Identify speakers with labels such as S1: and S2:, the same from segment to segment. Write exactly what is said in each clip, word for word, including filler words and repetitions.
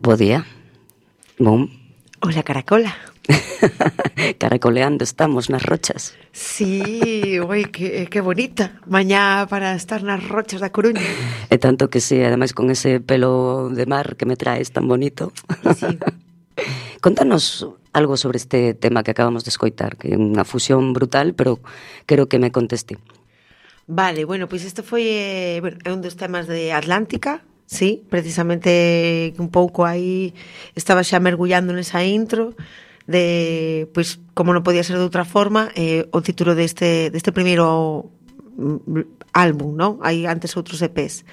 S1: Bo día. Bom.
S2: Hola, Caracola.
S1: Caracoleando estamos nas rochas.
S2: Sí, ui, que, que bonita. Mañá para estar nas rochas da Coruña.
S1: E tanto que sí, ademais con ese pelo de mar que me traes tan bonito.
S2: Sí.
S1: Contanos algo sobre este tema que acabamos de escoitar, que é unha fusión brutal, pero quero que me conteste.
S2: Vale, bueno, pois isto foi eh, bueno, é un dos temas de Atlántica, sí, precisamente un pouco aí estaba xa mergullando nesa intro de, pois, como non podía ser de outra forma, eh, o título deste, deste primeiro álbum, non? Hai antes outros E Pes.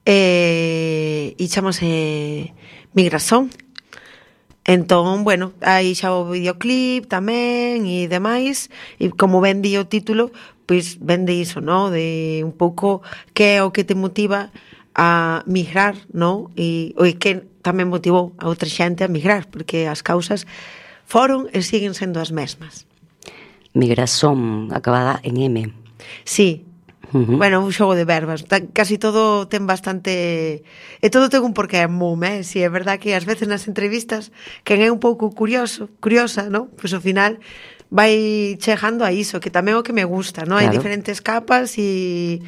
S2: Eh, e chamase Migración. Entón, bueno, aí xa o videoclip tamén e demais, e como ben di o título, pois ben de iso, no? De un pouco que é o que te motiva a migrar, no? E o que tamén motivou a outra xente a migrar, porque as causas foron e siguen sendo as mesmas.
S1: Migración, acabada en M.
S2: Sí.
S1: Uh-huh.
S2: Bueno, un xogo de verbas. Casi todo ten bastante... E todo ten un porqué mum, eh? Si é verdad que ás veces nas entrevistas quen é un pouco curioso, curiosa, ¿no? Pois ao final vai chegando a iso, que tamén é o que me gusta, ¿no? Claro. Hai diferentes capas e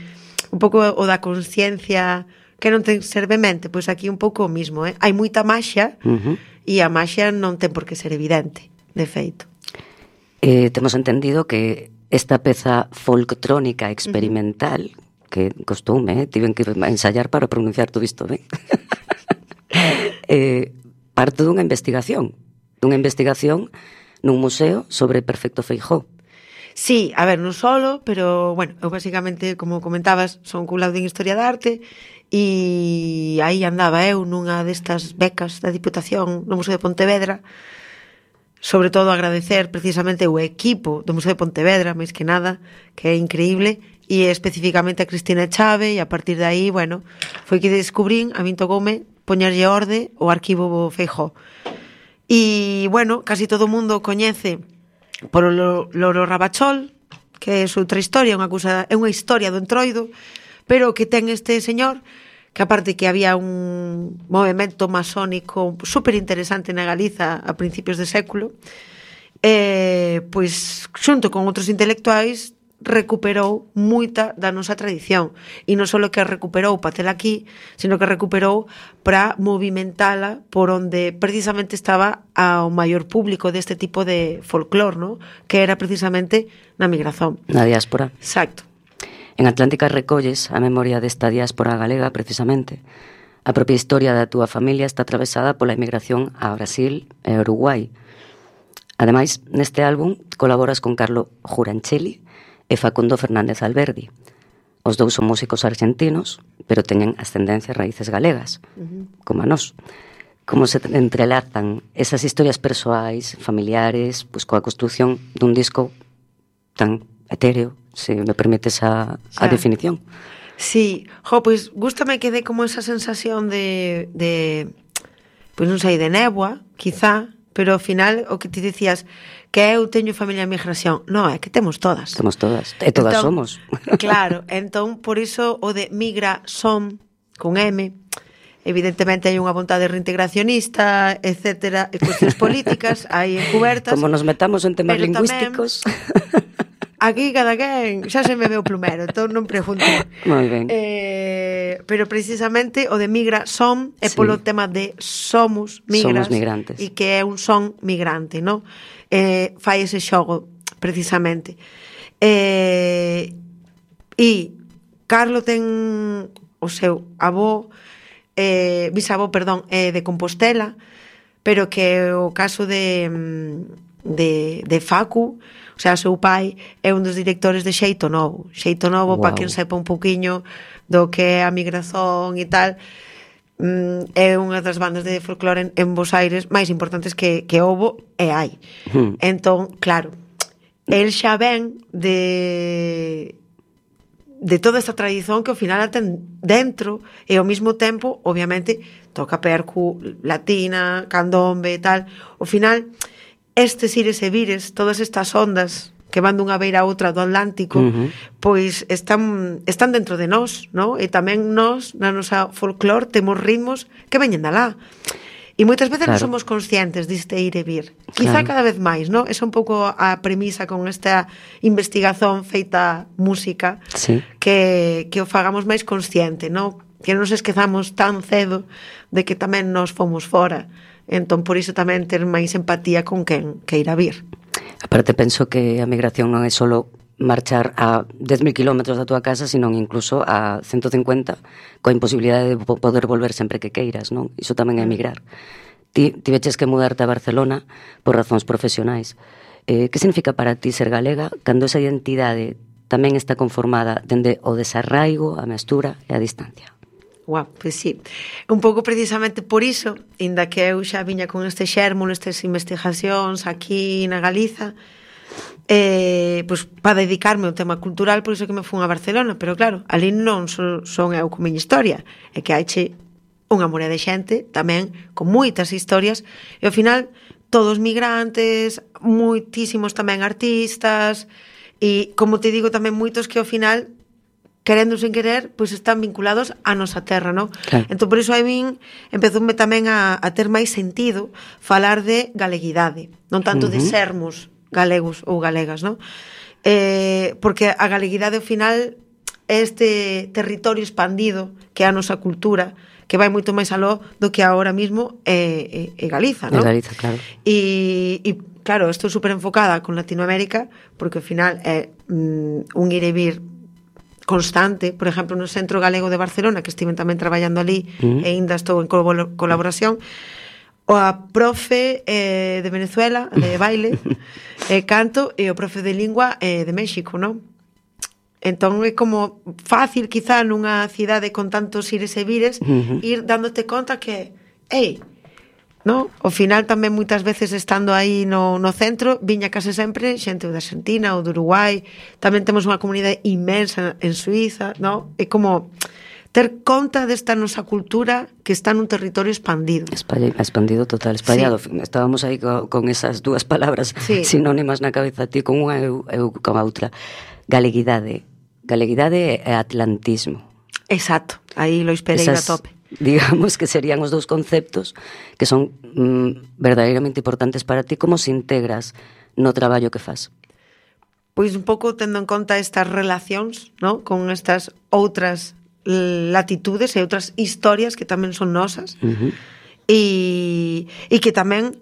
S2: un pouco o da consciencia que non ten ser vemente, pois aquí un pouco o mismo, eh? Hai moita maxia uh-huh. e a maxia non ten por que ser evidente, de feito.
S1: Eh, temos entendido que esta peza folktrónica experimental, uh-huh. que costoume, eh, tiven que ensayar para pronunciar todo isto ben, eh, parte dunha investigación, dunha investigación nun museo sobre Perfecto Feijóo.
S2: Sí, a ver, non solo, pero, bueno, eu basicamente, como comentabas, son culado en Historia da Arte e aí andaba eu nunha destas becas da Diputación no Museo de Pontevedra, sobre todo agradecer precisamente o equipo do Museo de Pontevedra, máis que nada, que é increíble, e especificamente a Cristina Chave, e a partir de aí, bueno, foi que descubrín, a min tocoume poñerlle orde o arquivo Feijóo. E, bueno, casi todo o mundo coñece por o Loro Rabachol, que é outra historia, unha cousa, é unha historia do Entroido, pero que ten este señor, que aparte que había un movimento masónico super interesante na Galiza a principios de século, eh, pois xunto con outros intelectuais recuperou moita da nosa tradición, e non só que recuperou para tela aquí, sino que recuperou para movimentala por onde precisamente estaba ao maior público deste tipo de folclor, ¿no? Que era precisamente na migración.
S1: Na diáspora.
S2: Exacto.
S1: En Atlántica recolles a memoria desta diáspora galega, precisamente. A propia historia da túa familia está atravesada pola emigración a Brasil e Uruguai. Ademais, neste álbum colaboras con Carlo Juranchelli e Facundo Fernández Alberdi. Os dous son músicos argentinos, pero teñen ascendencia e raíces galegas, uh-huh. como a nós. Como se entrelazan esas historias persoais, familiares, pois coa construción dun disco tan etéreo, se me permites a, a definición.
S2: Sí, jo, pois gústame que dé como esa sensación de, de pois non sei, de néboa, quizá, pero ao final o que ti dicías que eu teño familia en migración, non, é que temos todas.
S1: Temos todas, e todas
S2: entón,
S1: somos.
S2: Claro, entón por iso o de migra son con M, evidentemente hai unha vontade reintegracionista, etcétera, e cuestións políticas aí encubertas.
S1: Como nos metamos en temas lingüísticos.
S2: Tamén, aquí cada quen xa se me veo plumero, entón non pregunto.
S1: Moi ben.
S2: Eh, pero precisamente o de migra son é sí. Polo tema de somos migras.
S1: Somos migrantes.
S2: E que é un son migrante, non? Eh, fai ese xogo, precisamente. Eh, e Carlo ten o seu avó, eh, bisavó, perdón, eh, de Compostela, pero que o caso de, de, de Facu, o sea, o seu pai é un dos directores de Xeito Novo. Xeito Novo, wow. Para quen sepa un pouquiño do que é a migración e tal, é unha das bandas de folclore en, en Bos Aires máis importantes que, que houbo e hai. Hmm. Entón, claro, el xa ven de de toda esta tradición que ao final a ten dentro e ao mesmo tempo, obviamente, toca percu latina, candombe e tal. Ao final, estes ires e vires, todas estas ondas que van dunha beira a outra do Atlántico, uh-huh. pois están están dentro de nós, ¿no? E tamén nós, na nosa folclore, temos ritmos que veñen de alá. E moitas veces
S1: claro.
S2: non somos conscientes deste ir e vir. Quizá claro. cada vez máis, non? Esa é un pouco a premisa con esta investigación feita música,
S1: sí.
S2: que, que o fagamos máis consciente, non? Que non se esquezamos tan cedo de que tamén nos fomos fora. Entón, por iso tamén ter máis empatía con quen queira vir.
S1: Aparte, penso que a migración non é solo marchar a dez mil kilómetros da túa casa, sino incluso a ciento cincuenta, coa imposibilidade de poder volver sempre que queiras, non? Iso tamén é emigrar. Ti tiveches que mudarte a Barcelona por razóns profesionais. Eh, que significa para ti ser galega cando esa identidade tamén está conformada dende o desarraigo, a mestura e a distancia?
S2: Guau, pois sí. Un pouco precisamente por iso, inda que eu xa viña con este xérmulo, estas investigacións aquí na Galiza, eh, pois, para dedicarme ao tema cultural, por iso que me fun a Barcelona, pero claro, ali non son, son eu con miña historia, é que haiche unha morea de xente tamén con moitas historias, e ao final todos migrantes, moitísimos tamén artistas, e como te digo tamén moitos que ao final querendo sen querer, pois están vinculados á nosa terra, non?
S1: Claro.
S2: Entón, por iso a min empezoume tamén a, a ter máis sentido falar de galeguidade, non tanto uh-huh. de sermos galegos ou galegas, non? Eh, porque a galeguidade ao final é este territorio expandido que é a nosa cultura, que vai moito máis aló do que agora mismo é, é, é Galiza, non?
S1: É Galiza, claro.
S2: E, e claro, estou super enfocada con Latinoamérica, porque ao final é mm, un ir e vir constante. Por exemplo, no Centro Galego de Barcelona, que estiven tamén traballando ali, uh-huh. e ainda estou en colaboración, o a profe eh, de Venezuela, de baile, eh, canto, e o profe de lingua eh, de México, non? Entón é como fácil, quizá, nunha cidade con tantos ires e vires, uh-huh. ir dándote conta que, ei, no? Ao final tamén moitas veces estando aí no, no centro, viña case sempre xente de Argentina ou de Uruguai, tamén temos unha comunidade inmensa en Suiza, no? É como ter conta desta nosa cultura que está nun territorio expandido.
S1: Espalla, expandido total, espallado. Sí. Estábamos aí co, con esas dúas palabras sí. sinónimas na cabeza, ti con unha eu, eu con a outra. Galeguidade. Galeguidade e atlantismo.
S2: Exacto, aí lo esperei a tope.
S1: Digamos que serían os dous conceptos que son mm, verdadeiramente importantes para ti. Como se integras no traballo que fas?
S2: Pois un pouco tendo en conta estas relacións, ¿no? Con estas outras latitudes e outras historias que tamén son nosas, uh-huh. e, e que tamén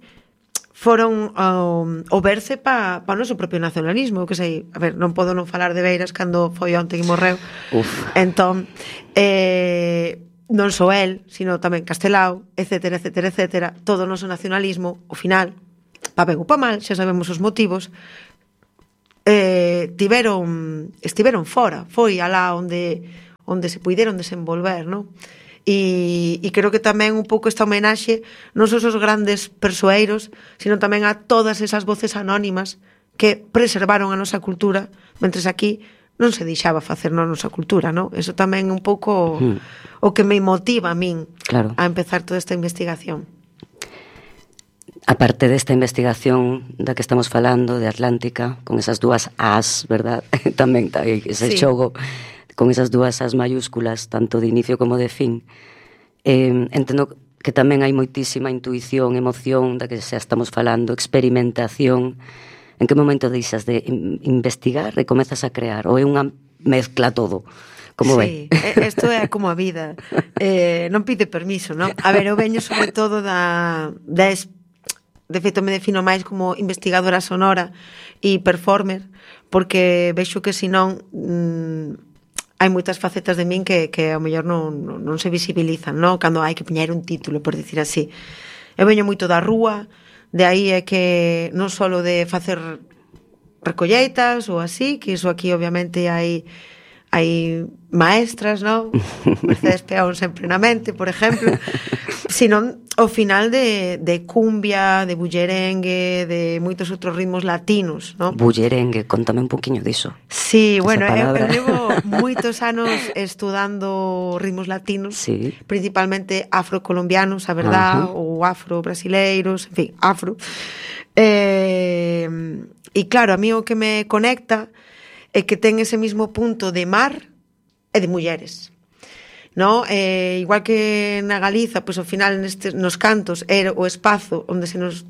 S2: foron o, o berce pa, pa o noso propio nacionalismo, que sei, a ver, non podo non falar de Beiras cando foi onte que morreu.
S1: Uf.
S2: Entón, eh, non só el, sino tamén Castelao, etcétera, etcétera, etcétera, todo o noso nacionalismo, ao final, pa ben ou pa mal, xa sabemos os motivos, eh, tiveron, estiveron fora, foi alá onde onde se puideron desenvolver, non? E, e creo que tamén un pouco esta homenaxe non só os grandes persoeiros, sino tamén a todas esas voces anónimas que preservaron a nosa cultura, mentres aquí non se deixaba facer na nosa cultura, non? Eso tamén un pouco hmm. o que me motiva a min
S1: claro.
S2: a empezar toda esta investigación.
S1: A parte desta investigación da que estamos falando, de Atlántica, con esas dúas As, verdad? Tamén ese sí. xogo con esas dúas as mayúsculas, tanto de inicio como de fin. Eh, entendo que tamén hai moitísima intuición, emoción, da que xa estamos falando, experimentación. En que momento deixas de investigar e comezas a crear? Ou é unha mezcla todo? Como
S2: sí,
S1: é?
S2: Isto é como a vida. Eh, non pide permiso, non? A ver, eu veño sobre todo da... da de feito, me defino máis como investigadora sonora e performer, porque vexo que senón... Mmm, hai moitas facetas de min que, que ao mellor non, non, non se visibilizan, non? Cando hai que poñer un título, por dicir así. Eu veño moito da rúa, de aí é que non só de facer recolleitas ou así, que iso aquí obviamente hai hai maestras, non? Mercedes Peón sempre na mente, por exemplo, sino ao final de, de cumbia, de bullerengue, de moitos outros ritmos latinos, non?
S1: Bullerengue, contame un poquinho diso.
S2: Sí, bueno, eu, eu levo moitos anos estudando ritmos latinos,
S1: sí.
S2: principalmente afrocolombianos, a verdad, uh-huh. ou afro-brasileiros, en fin, afro. Eh, e claro, a mí o que me conecta é que ten ese mismo punto de mar e de mulleres. no? Eh, igual que na Galiza, pois ao final nestes, nos cantos era o espazo onde se nos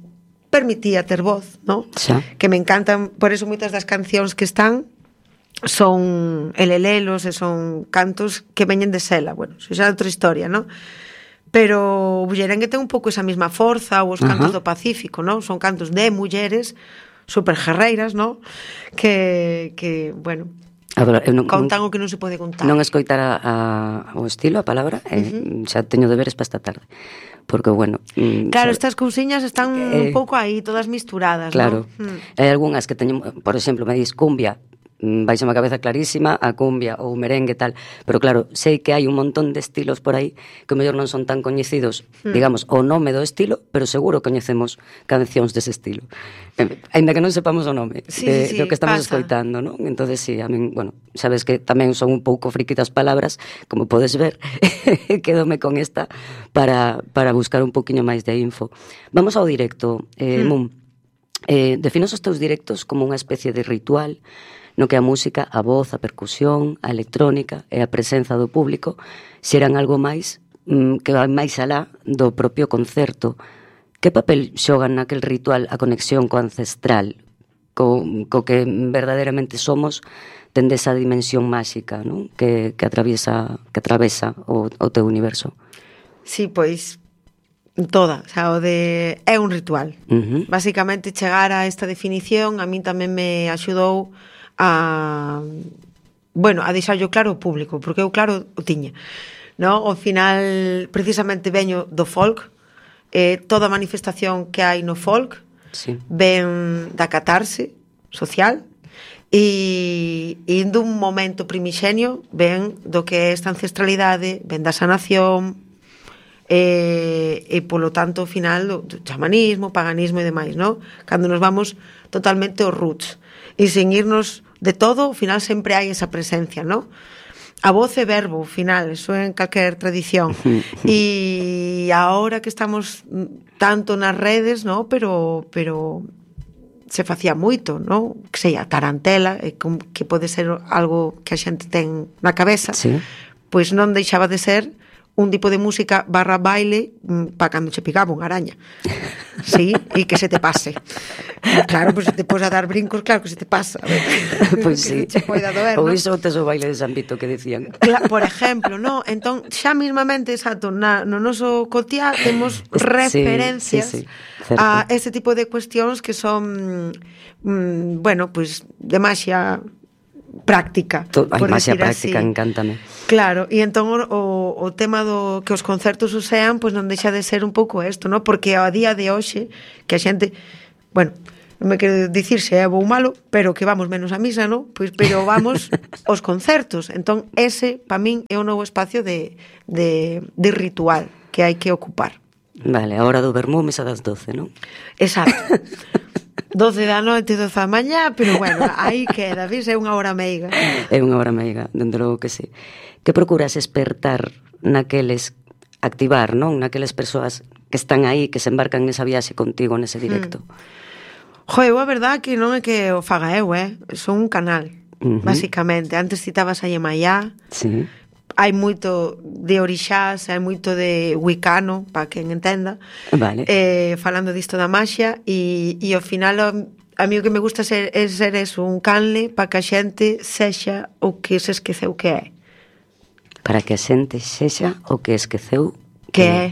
S2: permitía ter voz, no?
S1: Xa.
S2: Que me encantan, por eso moitas das cancións que están son elelelos e son cantos que veñen de Sela, bueno, iso xa é outra historia, no? Pero o bullerengue ten un pouco esa mesma forza, ou os cantos uh-huh. do Pacífico, no? Son cantos de mulleres super guerreiras, no? Que, que bueno,
S1: a ver, eu non,
S2: contan o que non se pode contar.
S1: Non escoitar a, a, o estilo, a palabra, uh-huh. eh, xa teño deberes para esta tarde. Porque, bueno...
S2: Claro,
S1: sabe,
S2: estas cousiñas están eh, un pouco aí, todas misturadas,
S1: claro.
S2: ¿no? Mm.
S1: Hai algunhas que teño, por exemplo, me dis cumbia, vais a má cabeza clarísima a cumbia ou merengue tal, pero claro, sei que hai un montón de estilos por aí que mellor non son tan coñecidos, mm. digamos, o nome do estilo, pero seguro coñecemos cancións dese estilo. Eh, aínda que non sepamos o nome
S2: sí,
S1: de,
S2: sí,
S1: do que estamos
S2: pasa.
S1: escoitando, non? Entonces, sí, a min, bueno, sabes que tamén son un pouco friki das palabras, como podes ver, quedome con esta para, para buscar un poquinho máis de info. Vamos ao directo, eh, mm. Mum. Eh, definos os teus directos como unha especie de ritual no que a música, a voz, a percusión, a electrónica e a presenza do público xeran algo máis mm, que vai máis alá do propio concerto. Que papel xogan naquel ritual a conexión co ancestral, co, co que verdadeiramente somos, tende esa dimensión máxica, non? Que, que atraviesa, que atravesa o, o teu universo?
S2: Sí, pois toda, o sea, o de é un ritual.
S1: Uh-huh.
S2: Básicamente chegar a esta definición a min tamén me axudou a, bueno, a deixarlo claro ao público, porque eu claro o tiña, no? Ao final precisamente veño do folk, eh, toda a manifestación que hai no folk
S1: sí.
S2: ven da catarse social e, e dun momento primixenio ven do que é esta ancestralidade, ven da sanación e, e polo tanto ao final do, do chamanismo, paganismo e demais, no? Cando nos vamos totalmente aos roots e sen irnos de todo, ao final sempre hai esa presencia, no? A voz é verbo, ao final, eso en calquer tradición. E agora que estamos tanto nas redes, no? Pero pero se facía moito, no? Que sei, a tarantela, que pode ser algo que a xente ten na cabeza,
S1: sí.
S2: Pois non deixaba de ser un tipo de música barra baile para cando che picaba unha araña. Sí, e que se te pase. Claro, pois pues, se te pos a dar brincos, claro que se te pasa.
S1: Pois pues sí.
S2: Doer,
S1: ou
S2: ¿no?
S1: iso tes o baile de San Vito que decían.
S2: Claro, por exemplo, no, entón xa mismamente, exacto, na, no noso cotiá temos referencias sí, sí, sí, a este tipo de cuestións que son mm, bueno, pois pues, de maxia práctica.
S1: A maxia práctica, así. Encántame.
S2: Claro, e entón o, o tema do que os concertos o sean, pois pues non deixa de ser un pouco isto, ¿no? Porque a día de hoxe que a xente, bueno, non me quero dicir se é bo ou malo, pero que vamos menos a misa, ¿no? Pois pero vamos aos concertos. Entón ese, para min, é o novo espacio de, de, de ritual que hai que ocupar.
S1: Vale, a hora do vermú, mesa das doce, non?
S2: Exacto. doce da noite, doce da mañá, pero bueno, aí queda, vis, é unha hora meiga.
S1: É unha hora meiga, dende logo que sí. Que procuras espertar naqueles, activar, non? Naqueles persoas que están aí, que se embarcan nesa viaxe contigo, nese directo.
S2: Mm. Jo, eu a verdad que non é que o faga eu, eh? Son un canal, uh-huh. Básicamente. Antes citabas a Yemayá.
S1: Sí.
S2: Hai moito de orixás, hai moito de wicano, para quen entenda.
S1: Vale.
S2: Eh, falando disto da maxia, e, e ao final a, a mí o que me gusta ser, é ser eso, un canle para que a xente sexa o que se esqueceu que é.
S1: Para que a xente sexa o que esqueceu
S2: que, que é.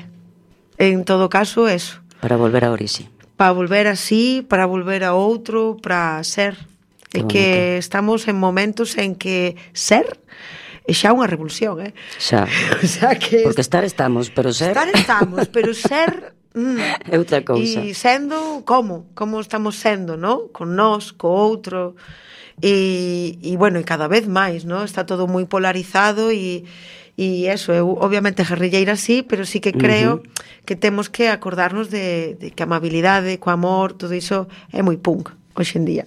S2: En todo caso, eso.
S1: Para volver a orixe.
S2: Para volver así, para volver a outro, para ser. É que estamos en momentos en que ser é xa unha revolución, eh?
S1: Xa.
S2: O sea que
S1: porque estar estamos, pero ser...
S2: Estar estamos, pero ser... Mm,
S1: é outra cousa.
S2: E sendo, como? Como estamos sendo, no? Con nós, co outro... E, e bueno, e cada vez máis, no? Está todo moi polarizado e, e eso, eu obviamente guerrilleira sí, pero sí que creo uh-huh. que temos que acordarnos de, de que a amabilidade, co amor, todo iso é moi punk hoxe en día.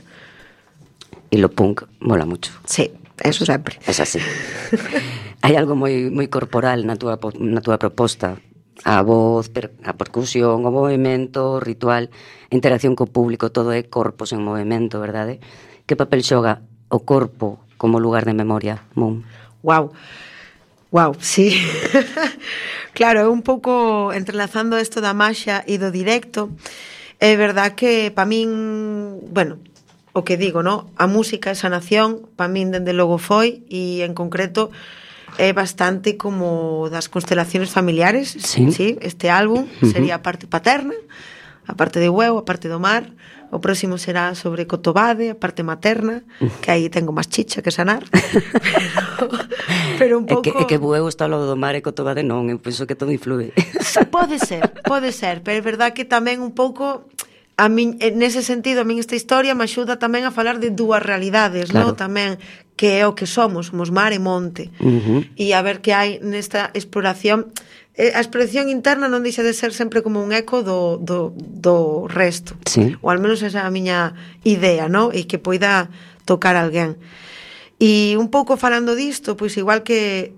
S1: E lo punk mola mucho.
S2: Sí. Eso sempre.
S1: Es así. Hai algo moi moi corporal na túa na túa proposta. A voz, per, a percusión, o movimento, o ritual, a interacción co público, todo é corpos en movimento, verdade? Que papel xoga o corpo como lugar de memoria, Mum?
S2: Wow. Wow, sí. Claro, é un pouco entrelazando isto da maxia e do directo. É verdad que pa min, bueno, o que digo, no? A música é sanación, pa min dende logo foi, e en concreto é bastante como das constelaciones familiares.
S1: Sí.
S2: Sí, este álbum uh-huh. sería a parte paterna, a parte de Bueu, a parte do mar. O próximo será sobre Cotobade, a parte materna, que aí tengo máis chicha que sanar. pero, pero un pouco...
S1: É que, é que Bueu está ao lado do mar e Cotobade non, eu penso que todo influe.
S2: Pode ser, pode ser, pero é verdad que tamén un pouco... A min, nese sentido, a min esta historia me axuda tamén a falar de dúas realidades, claro. No? Tamén, que é o que somos, somos mar e monte. Uh-huh. E a ver que hai nesta exploración... A exploración interna non deixa de ser sempre como un eco do, do, do resto.
S1: Sí.
S2: Ou al menos esa é a miña idea, no? E que poida tocar alguén. E un pouco falando disto, pois igual que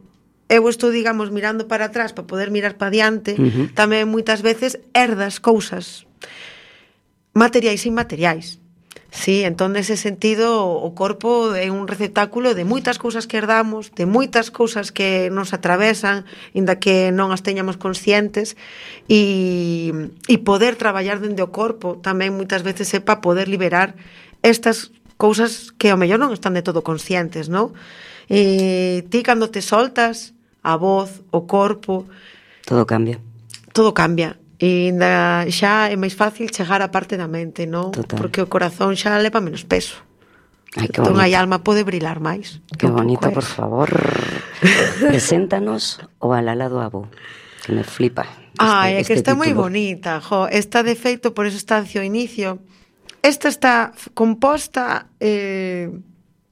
S2: eu estou, digamos, mirando para atrás para poder mirar para diante, uh-huh. tamén moitas veces herdas cousas materiais e inmateriais. Sí, entón, nese sentido, o corpo é un receptáculo de moitas cousas que herdamos, de moitas cousas que nos atravesan, inda que non as teñamos conscientes, e, e poder traballar dende o corpo tamén moitas veces é para poder liberar estas cousas que ao mellor non están de todo conscientes, non? E ti, cando te soltas, a voz, o corpo...
S1: Todo cambia.
S2: Todo cambia. E ainda xa é máis fácil chegar á parte da mente, non?
S1: Total.
S2: Porque o corazón xa leva menos peso.
S1: Ai, que
S2: entón
S1: bonito.
S2: a alma pode brilar máis.
S1: Que bonito, por favor. Preséntanos o Alala do Abo, que me flipa. Este,
S2: Ai, é que
S1: este
S2: está moi
S1: título.
S2: bonita, jo. Está de feito, por eso está hacia o inicio. Esta está composta eh,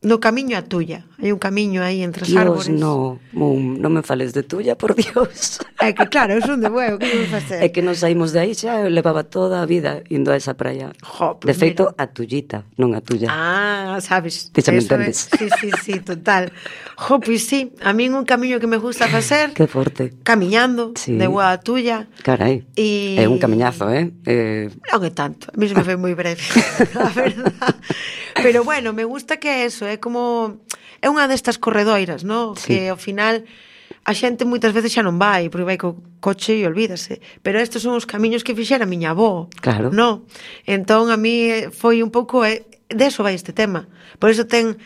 S2: no camiño a Tulla. Hai un camiño aí entre as
S1: Dios,
S2: árbores.
S1: no, Mum, non me fales de Tulla, por Dios.
S2: É que claro, eu son de Bueu, que me facer?
S1: É que nos saímos de aí xa, eu levaba toda a vida indo a esa praia.
S2: Jo,
S1: De
S2: pues
S1: feito,
S2: mira.
S1: a Tullita, non a Tulla.
S2: Ah, sabes.
S1: Ti xa me
S2: Eso
S1: entendes.
S2: É, sí, sí, sí, total. Jo, pois sí, a min un camiño que me gusta facer,
S1: Que forte.
S2: camiñando,
S1: Sí.
S2: de Bueu a Tulla.
S1: Carai,
S2: E...
S1: é un camiñazo, eh? eh...
S2: Non é tanto, a mí se me foi moi breve, a verdad. Pero bueno, me gusta que é eso, é como... É unha destas corredoiras, no?
S1: Sí.
S2: Que ao final a xente moitas veces xa non vai, porque vai co coche e olvídase. Pero estes son os camiños que fixera a miña avó.
S1: Claro.
S2: No? Entón a mí foi un pouco... Eh, de eso vai este tema. Por eso ten...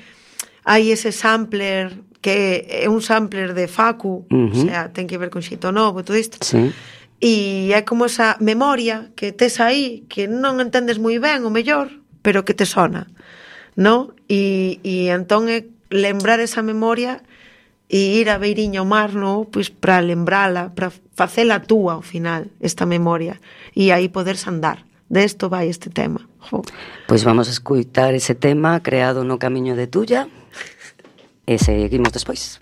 S2: Hai ese sampler que é un sampler de Facu, uh-huh. O sea, ten que ver con Xeito Novo e todo isto.
S1: Sí.
S2: E é como esa memoria que tes aí, que non entendes moi ben, o mellor, pero que te sona, no? E, e entón é lembrar esa memoria e ir a beiriña ao mar, no? Pois para lembrala, para facela túa ao final, esta memoria, e aí poderse andar. De isto vai este tema. Jo.
S1: Pois vamos a escutar ese tema creado no camiño de Tulla e seguimos despois.